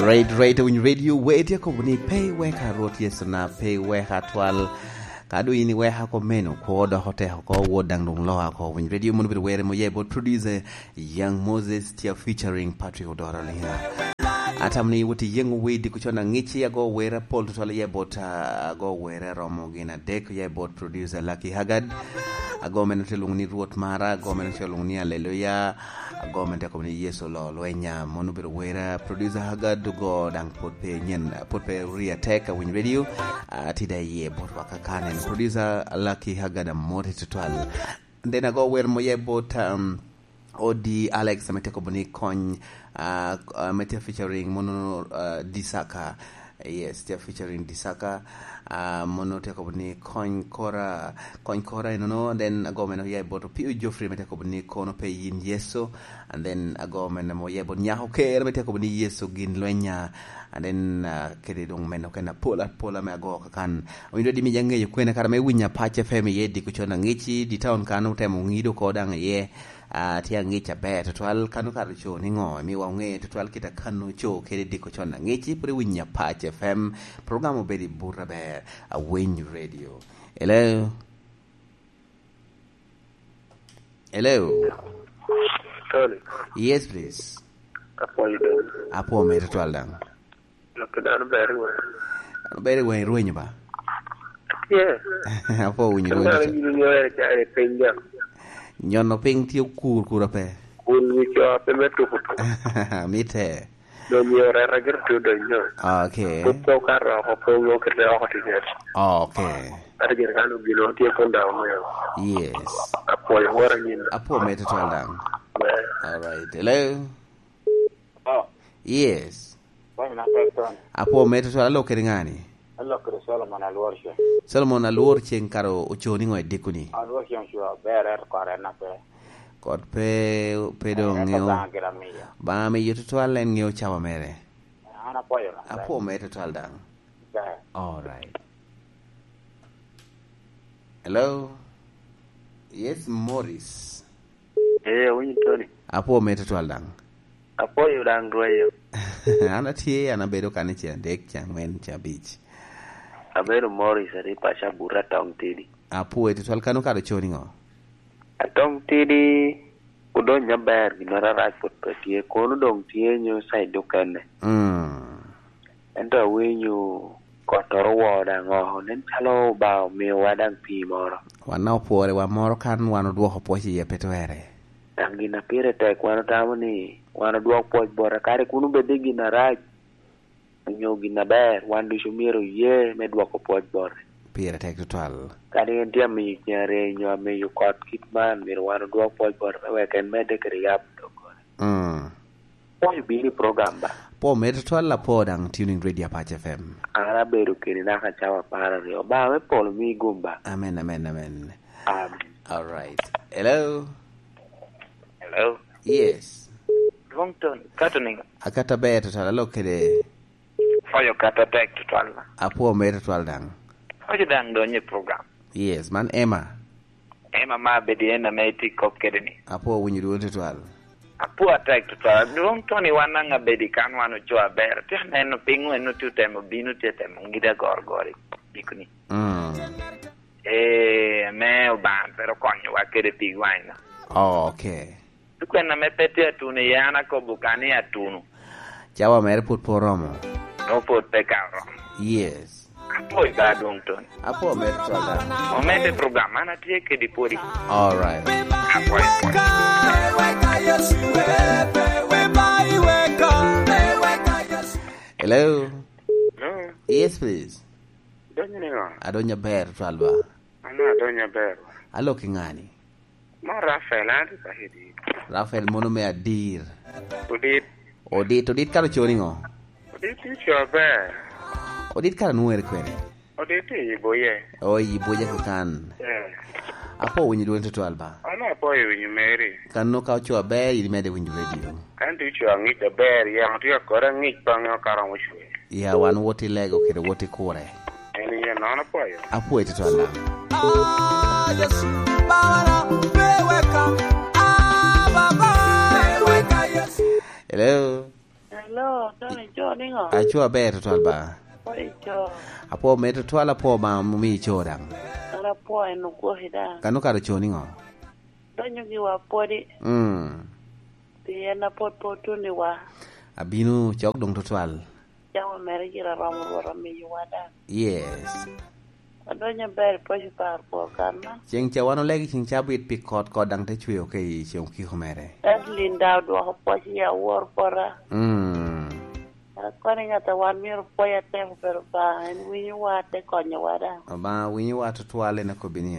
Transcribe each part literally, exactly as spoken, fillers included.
Right, right, Winy Radio, weti akobo ni pe iweka Rwot Yesu na, pe iweka twal. Ka doŋ in iweka oko meno, kwo dok otek oko, wot daŋ doŋ loka oko. Winy Radio mono bedo were moye bot producer Young Moses Tia featuring Patrick Odoro Lina. Atamo ni wot iyeŋo wer diko con aŋici, ago were apol tutwal iye bot, ah, ago were aromo gin adek iye bot producer Lucky Haggard. Ago meno te lwoŋo ni Rwot Mara, ago meno te lwoŋo ni Aleluya, ago meno te kobo ni Yesu Oloo Lwenya. Mono obedo wera, producer Haggard ogo daŋ pwod pe nyen, pwod pe ori atek a Winy Radio. Ah, tye da iye bot wa kakan en producer Lucky Haggard, amoti tutwal. Then ago wer moye bot, um, Odi Alex, ame te kobo ni kony, ah, ah, ame tye featuring mono, ah, Disaka. Yes, tye featuring Disaka. Ah, mono te kobo ni kony kora, kony kora enono. Then ago meno oya i bot Opio Geoffrey, ame te kobo ni kono pe yin Yesu. And then ago meno oya i bot Nyako Ker, ame te kobo ni Yesu gin lwenya. And then, ah, kede doŋ meno kena pola, pola me ago kakan. Owinjo di mi ja ŋeyo kwene kara me winya Pac F M iye diko con aŋici, di taon kan otemo ŋido ko daŋ iye. Ah, tye aŋic aber tutwal, kano kare co niŋo? Miwa oŋe tutwal kit a kano co kede diko con aŋici, pwod iwinyo Apac F M, program obedo i but aber, Awiny Radio. Hello? Hello? Tony. Yes, please. Apwoyo doŋ. Apwo mere tutwal daŋ. Lok dano ber i wang. Dano ber i wang i rwenyo ba? Tye. Apwo winyo rwenyo. Dano gini nyoyo cari piny jam. Nyono piny tye okur kura pe. Kun wi co pe me tuko tuko. Mitte. Donyo reta gir tu donyo. Okay. Put to ka roko pe ongo kete oko tiket. Okay. Ate gir kano gino tye kun dawo meo. Yes. Apwoyo wora nyina. Apwo mere tutwal daŋ. All right. Hello? Oh. Yes. Bwana na pek Tony. Apwo mere tutwal, alok kede ŋani? Alok kede Solomon Alwor Ceng. Solomon Alwor Ceng kara ocoo niŋo i dikoni? Alwor Ceng ocoo aber, ento kot en na pe. Kot pe, pe doŋ ŋeo. Ento Obaŋa gire amiyo. Obaŋa amiyo tutwal, en ŋeo cawa mere. An apwoyo na pek. Apwo mere tutwal daŋ. Ber. All right. Hello? Yes, Morris. Ee, awinyo Tony. Apwo mere tutwal daŋ. Apwoyo daŋ rwenyo. An atye, an abedo kan i ce adek, ce aŋwen, ce abic. Abedo Morris, atye paco Abuto Atong Tidi. Apwoyo tutwal, kano kare ocoo niŋo? Atong Tidi, odonyo aber, ginnoro arac pwod pe tye, kono doŋ tye nyo side okene. Mm. Ento awinyo kottoro owoo daŋ oko, nen calo Obaŋa omiowa daŋ pii moro. Wan daŋ opwore, wa moro kan wan odwoko pwoc iye pe twerre. Daŋ gin a pire tek, wan otamo ni wan odwok pwoc bote, kadi kun obed ni gin arac onyo gin aber, wan ducu myero oye me dwoko pwoc bote. Pire tek tutwal. Kadi en tye amiyo cen aryo nyo amiyo kot kit man, myero wan odwok pwoc bote me wek en medde kede yab doggola. Mm. Pwoyo bino i program ba? Pwo mere tutwal, apwo daŋ tuning Radio Apac F M. An abedo keni naka cawa apar aryo. Obaŋa me polo mi gum ba? Amen, amen, amen. Amen. All right. Hello? Hello? Yes. Dwong Tony, kato niŋo? Akato aber tutwal, alok kede. Pwoyo kato tek tutwal na. Apwo mere tutwal daŋ. Pwoyo daŋ donyo i program. Yes, man Emma. Emma ma abedi en ame itye kop kede ni. Apwo winyo dwon tutwal. Apwo atek tutwal. Dwong Tony, wan daŋ abedi kan wan ocoo aber. Tye aneno piny wen otye otemo bino, tye temo ŋida gorgor i gikoni. Mm. Ee, ame Obaŋa twero konyowa kede pi wanyna. Oh, okay. Dok en ame pe tye atuno iye, an akobo ka ni atuno. Cawa mere pwod pe oromo. No, pwod pe ka oromo. Yes. Apwoyo ba dwong Tony. Apwo mere twal da. Omedde program, an atye kedi pwodi. All right. Apwoyo, apwoyo. Hello? Hello? Yes, please. Donyo niŋo? Adonyo aber twal ba. An adonyo aber. Alok i ŋani? Ma Rafael, an atye ka hidi. Rafael mono me adir. Odit. Odit, Odit kara ocoo niŋo? Odit tye ocoo aber. Odit kara nwoŋere kwene? Odit tye i Buye. Oh, i Buye kakan. Eh. Apwo winyo dwoni tutwal ba. An apwoyo winyo meri. Kano ka ocoo aber, in imedde winyo radio. An tye ocoo aŋic aber, yamo tye akore aŋic baŋe okato ŋo cwe. Ya, wan wot i lego kede wot i kure. En iye nono pwoyo. Apwoyo tutwal daŋ. Ah, Yesu, Baba, pe weka. Ah, Baba, pe weka, Yesu. Hello? Hello? Yo, Tony, ico niŋo? Aco aber tutwal ba. Apwoyo ico. Apwo me tutwal, apwo ba omi ico daŋ. An apwoyo en ogwoki daŋ. Kano kare oco niŋo? Donyo giwa pwodi. Mm. Pien apwod pe otuno wa. Abino cok doŋ tutwal. Jami mere gire aromo Rwot omiyowa daŋ. Yes. Adonyo aber i paco par kwo kan man. Ceng ca wan olegi ceng cabit pi kot, kot daŋ te cweo ka i ceng okiko mere. Edlin daŋ odwoko pwoc i awor pota. Mm. Kono i ŋat a wan myero pwoc atek obedo Obaŋa, en winyowa, te konyowa daŋ. Obaŋa winyowa tutwal, en akobbi ni.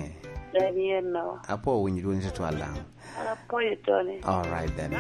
En yen no. Apwo winyo dwoni tutwal daŋ. An apwoyo Tony. All right then.